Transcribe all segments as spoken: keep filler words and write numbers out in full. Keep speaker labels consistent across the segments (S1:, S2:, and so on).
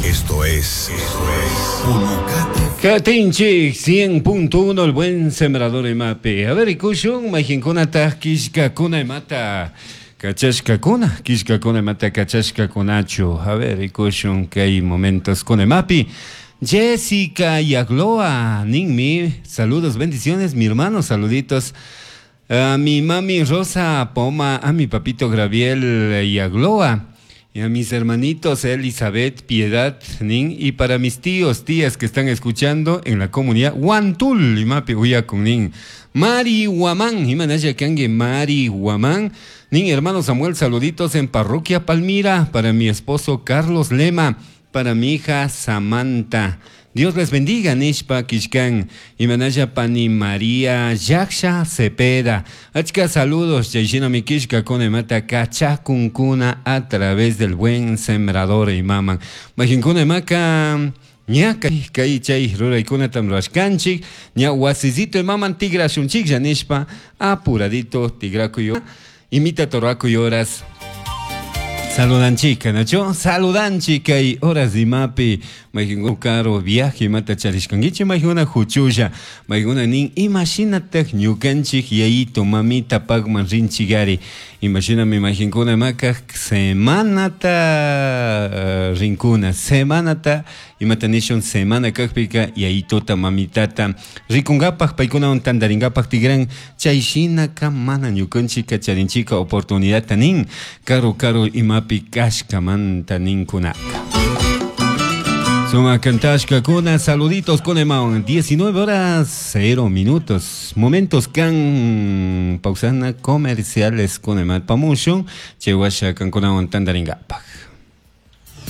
S1: Esto es, esto es Pulucate.
S2: Katinchik cien punto uno, el buen sembrador imapi. A ver, ikushun, mayqinkunataq killkakuna imata kachashkakuna, killkakuna imata kachashkakunachu. A ver, ikushun kay momentos kuna imapi. Jessica Yagloa, ninmi, saludos, bendiciones, mi hermano, saluditos. A mi mami Rosa Poma, a mi papito Graviel Yagloa, y a mis hermanitos Elizabeth, Piedad, Nin, y para mis tíos, tías que están escuchando en la comunidad Huantul, imapi uyakun nin. Mari Guamán, imanaya kangue Mari Guamán, nin hermano Samuel, saluditos en Parroquia Palmira, para mi esposo Carlos Lema, para mi hija Samantha. Dios les bendiga, nishpa kishkan, imanaya pani María Yaksha Cepeda. Achka saludos, chayshina mi kishka con imata kachakunkuna a través del buen sembrador imaman. Majinkuna imaka ña kay chay ruraykunatam rurashkanchik, ña wasisito imaman tigrashunchik nishpa apuradito tigrakuyo, imita torrakuy horas. Saludanchika, Nacho. Saludanchika y horas de mapi. Majinguna caro viaje mata charishkangichi, majinguna huchulla, majinguna nin imashinataq ñukanchik yayito mamita pagman rinchigari. Imagíname majinguna maka semanata uh, rinkuna, semanata imata nishun semana kaqpika yayitota mamitata rikungapaq paykunawan tantaringapaq tigran chayshinaka mana ñukanchika charinchika oportunidadta nin karu karu imapi kashkamanta ninkunaka. Suma kantashkakuna, saluditos con emaon, diecinueve horas cero minutos. Momentos kan pausana comerciales con emal pamushun, chewasha kankunawan tandaringapaq.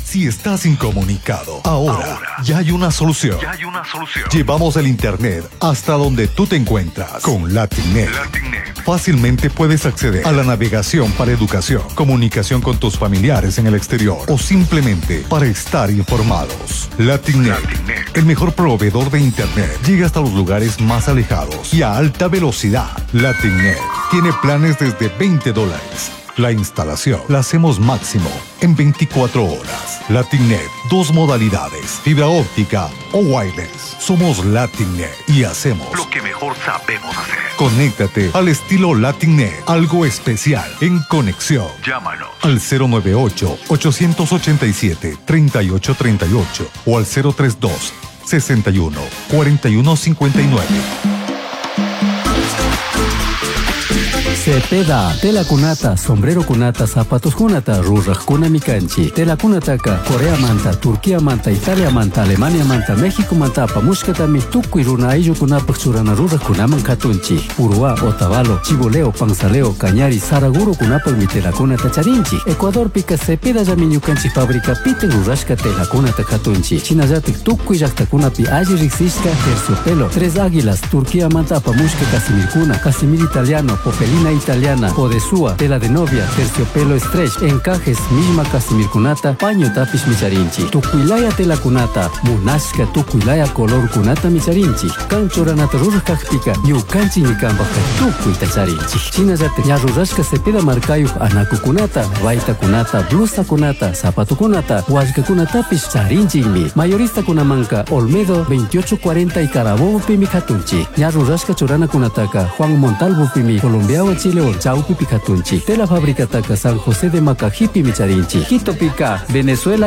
S3: Si estás incomunicado, ahora, ahora ya hay una solución.
S4: Ya hay una solución.
S3: Llevamos el internet hasta donde tú te encuentras con LatinNet.
S4: LatinNet.
S3: Fácilmente puedes acceder a la navegación para educación, comunicación con tus familiares en el exterior o simplemente para estar informados. LatinNet,
S4: LatinNet.
S3: el mejor proveedor de internet, llega hasta los lugares más alejados y a alta velocidad. LatinNet tiene planes desde veinte dólares. La instalación la hacemos máximo en veinticuatro horas. LatinNet, dos modalidades, fibra óptica o wireless. Somos LatinNet y hacemos
S4: lo que mejor sabemos hacer.
S3: Conéctate al estilo LatinNet, algo especial en conexión.
S4: Llámanos
S3: al cero nueve ocho, ochocientos ochenta y siete, treinta y ocho treinta y ocho o al cero tres dos, sesenta y uno, cuarenta y uno cincuenta y nueve.
S5: Cepeda, tela kunata, sombrero kunata, zapatos kunata, ruraj kuna mikanchi. Tela kunataka, Corea manta, Turquía manta, Italia manta, Alemania manta, México manta, apamushkatami, tukuy runa ayllu kunapaj churana ruraj kunaman katunchi. Uruá, Otavalo, Chiboleo, Panzaleo, Cañari, Saraguro kunapaj mi tela kunata charinchi. Ecuador pika Cepeda llami ñukanchik fábrica pite rurashka tela kunata katunchi. Chinallatik tukuy llaqtakunapi alli riqsishka terciopelo, Tres Águilas, Turquía manta apamushka casimirkuna, casimir italiano, popelina italiana, podesúa, tela de novia, terciopelo stretch, encajes, misma casimirkunata, paño tapish micharinchi, tukuylaya tela kunata, munashka tukuylaya color kunata micharinchi, kanchoranata ruraj kajpika, ñukanchik ñikanpajka tukuyta charinchi. Shinallata ña rurashka Cepeda markayuj anakukunata, baytakunata, blusakunata, zapatukunata, wallkakunatapish charinchikmi. Mayorista kunamanka Olmedo veintiocho cuarenta y Carabobo pimi katunchi. Ña rurashka churanakunataka Juan Montalvo pimi, Colombia Chile Chaupi Picatunchi, Tela Fábrica Taca San José de Macajipi Micharinchi, Quito Pica, Venezuela.